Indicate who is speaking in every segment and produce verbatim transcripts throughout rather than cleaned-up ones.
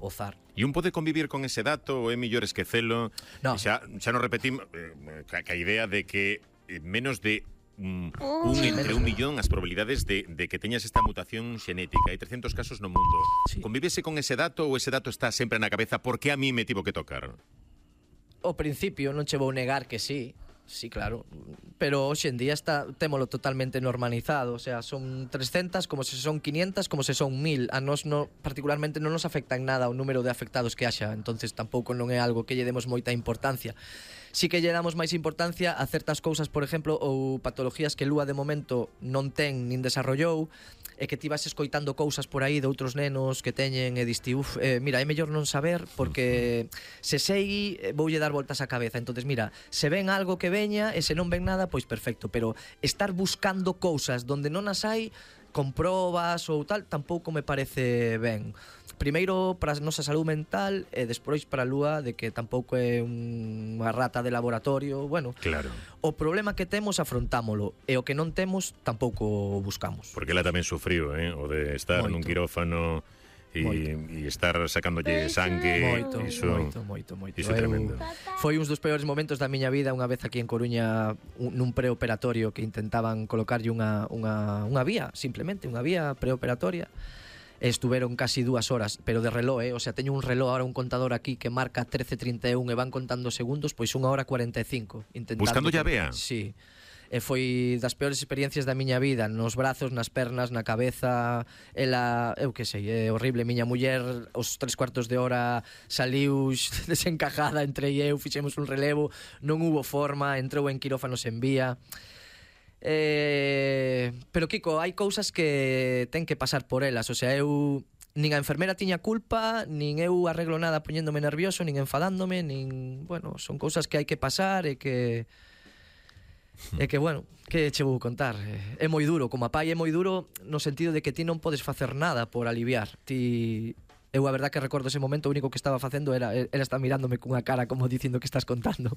Speaker 1: ozar.
Speaker 2: E un pode convivir con ese dato ou é mellor esquecelo?
Speaker 1: No.
Speaker 2: Xa, xa nos repetimos eh, que a idea de que eh, menos de un, un entre un millón as probabilidades de, de que teñas esta mutación xenética. Hai trescentos casos no mundo.
Speaker 1: Sí.
Speaker 2: Convívese con ese dato ou ese dato está sempre na cabeza? Por que a mí me tivo que tocar?
Speaker 1: Ao principio non che vou negar que sí. Sí, claro, pero hoxe en día está témolo totalmente normalizado, o sea, son trescentas como se son quinientas, como se son mil. A nós no, particularmente non nos afecta en nada o número de afectados que haxa, entonces tampouco non é algo que lle demos moita importancia. Sí que lle damos máis importancia a certas cousas, por exemplo, ou patologías que Lúa de momento non ten nin desarrollou, e que ti vas escoitando cousas por aí de outros nenos que teñen e diste, uf, eh, mira, é mellor non saber porque se sei voulle dar voltas á cabeza. Entonces, mira, se ven algo que veña e se non ven nada, pois perfecto, pero estar buscando cousas donde non as hai con probas ou tal, tampouco me parece ben. Primeiro para a nosa saúde mental e despois para a Lúa de que tampouco é unha rata de laboratorio. Bueno,
Speaker 2: claro.
Speaker 1: O problema que temos afrontámolo e o que non temos tampouco buscamos.
Speaker 2: Porque ela tamén sufriu, eh? O de estar
Speaker 1: Moito.
Speaker 2: nun quirófano e, e estar sacándolle sangue.
Speaker 1: Moito,
Speaker 2: iso,
Speaker 1: moito, moito, moito.
Speaker 2: Iso é tremendo.
Speaker 1: Foi uns dos peores momentos da miña vida unha vez aquí en Coruña un, nun preoperatorio que intentaban colocarlle unha, unha, unha vía, simplemente unha vía preoperatoria. Estuveron casi dúas horas, pero de reloj, eh? O sea, teño un reloj ahora, un contador aquí que marca trece trinta e un e van contando segundos, pois unha hora cuarenta e cinco intentando.
Speaker 2: Buscando a vea?
Speaker 1: Sí. E foi das peores experiencias da miña vida, nos brazos, nas pernas, na cabeza. Ela, eu que sei, é horrible. Miña muller, os tres cuartos de hora saliu desencajada, entre eu, fixemos un relevo, non hubo forma, entrou en quirófano sen vía. Eh, pero Kiko, hai cousas que ten que pasar por elas. O sea, eu nin a enfermera tiña culpa, nin eu arreglo nada poñéndome nervioso, nin enfadándome, nin, bueno, son cousas que hai que pasar e que e que, bueno, que che vou contar. É moi duro, como a pai é moi duro no sentido de que ti non podes facer nada por aliviar. Ti Eu a verdad que recordo ese momento, o único que estaba facendo era ela está mirándome cunha cara como dicindo que estás contando.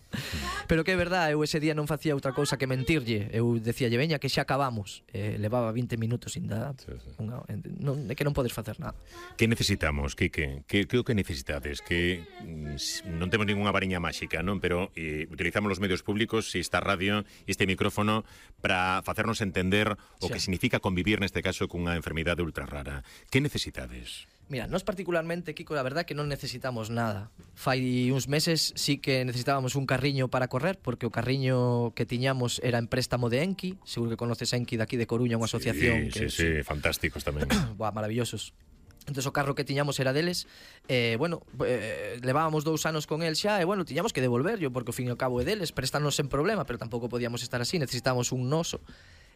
Speaker 1: Pero que é verdad, eu ese día non facía outra cousa que mentirlle. Eu decíalle, veña, que xa acabamos. Eh, levaba vinte minutos sin dar. Sí, sí. Unha, non, é que non podes facer nada.
Speaker 2: Que necesitamos, Quique? Que, que o que necesitades? Que mm, non temos ninguna variña máxica, non? Pero eh, utilizamos os medios públicos, esta radio, este micrófono, para facernos entender o
Speaker 1: xa.
Speaker 2: que significa convivir neste caso cunha enfermidade ultra rara. Que necesitades?
Speaker 1: Mira, nós particularmente, Kiko, la verdad que non necesitamos nada. Fai uns meses sí que necesitábamos un carriño para correr, porque o carriño que tiñamos era en préstamo de Enki. Seguro que conoces Enki daqui de Coruña, unha asociación.
Speaker 2: Sí, que sí, sí, fantásticos tamén.
Speaker 1: Buah, maravillosos. Entón o carro que tiñamos era deles. eh, Bueno, eh, levábamos dous anos con el xa. E bueno, tiñamos que devolverlo, porque ao fin e ao cabo é deles. Préstanos sen problema, pero tampouco podíamos estar así. Necesitábamos un noso.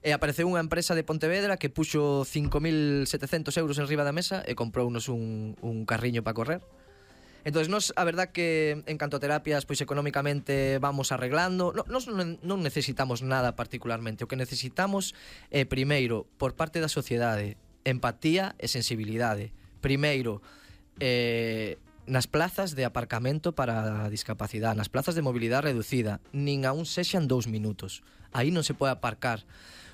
Speaker 1: E apareceu unha empresa de Pontevedra que puxo cinco mil setecentos euros en riba da mesa e comprounos un, un carriño para correr. Entón, nos, a verdad que en canto a terapias, pois económicamente vamos arreglando. No, nos non, non necesitamos nada particularmente. O que necesitamos é, primeiro, por parte da sociedade, empatía e sensibilidade. Primeiro, eh, nas plazas de aparcamento para a discapacidade, nas plazas de mobilidade reducida, nin aún sexan dous minutos. Aí non se pode aparcar.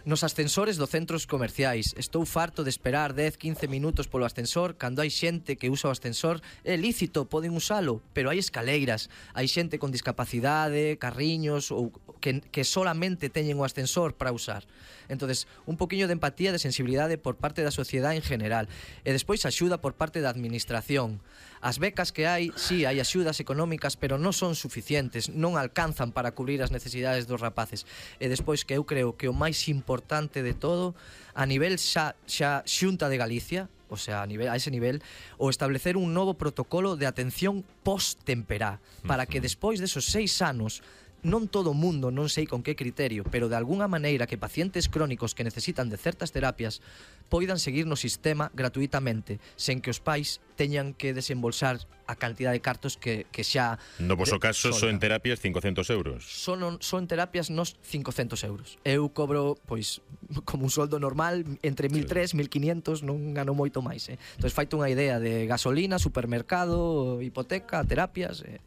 Speaker 1: Nos ascensores dos centros comerciais. Estou farto de esperar dez, quince minutos polo ascensor cando hai xente que usa o ascensor. É lícito, poden usalo, pero hai escaleiras. Hai xente con discapacidade, carriños ou que, que solamente teñen o ascensor para usar. Entonces, un poquinho de empatía, de sensibilidade por parte da sociedade en general. E despois axuda por parte da administración. As becas que hai, sí, hai axudas económicas, pero non son suficientes, non alcanzan para cubrir as necesidades dos rapaces. E despois que eu creo que o máis importante de todo, a nivel xa, xa Xunta de Galicia, o sea, a, nivel, a ese nivel, o establecer un novo protocolo de atención post-temperá, para que despois desos seis anos, non todo o mundo, non sei con que criterio, pero de algunha maneira que pacientes crónicos que necesitan de certas terapias poidan seguir no sistema gratuitamente, sen que os pais teñan que desembolsar a cantidad de cartos que, que xa...
Speaker 2: No vosso caso, son en terapias cincocentos euros.
Speaker 1: Son, son terapias nos cincocentos euros. Eu cobro, pois, como un soldo normal, entre mil tres, mil quinientos, non gano moito máis, eh? Entón, faito unha idea de gasolina, supermercado, hipoteca, terapias... Eh.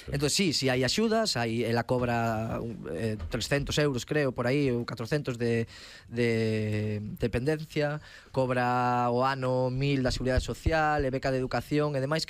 Speaker 1: Entón, sí, si sí, hai axudas, hai, ela cobra eh, trescentos euros, creo, por aí, ou catrocentos de, de dependencia, cobra o ano mil da Seguridade Social, e beca de educación e demais,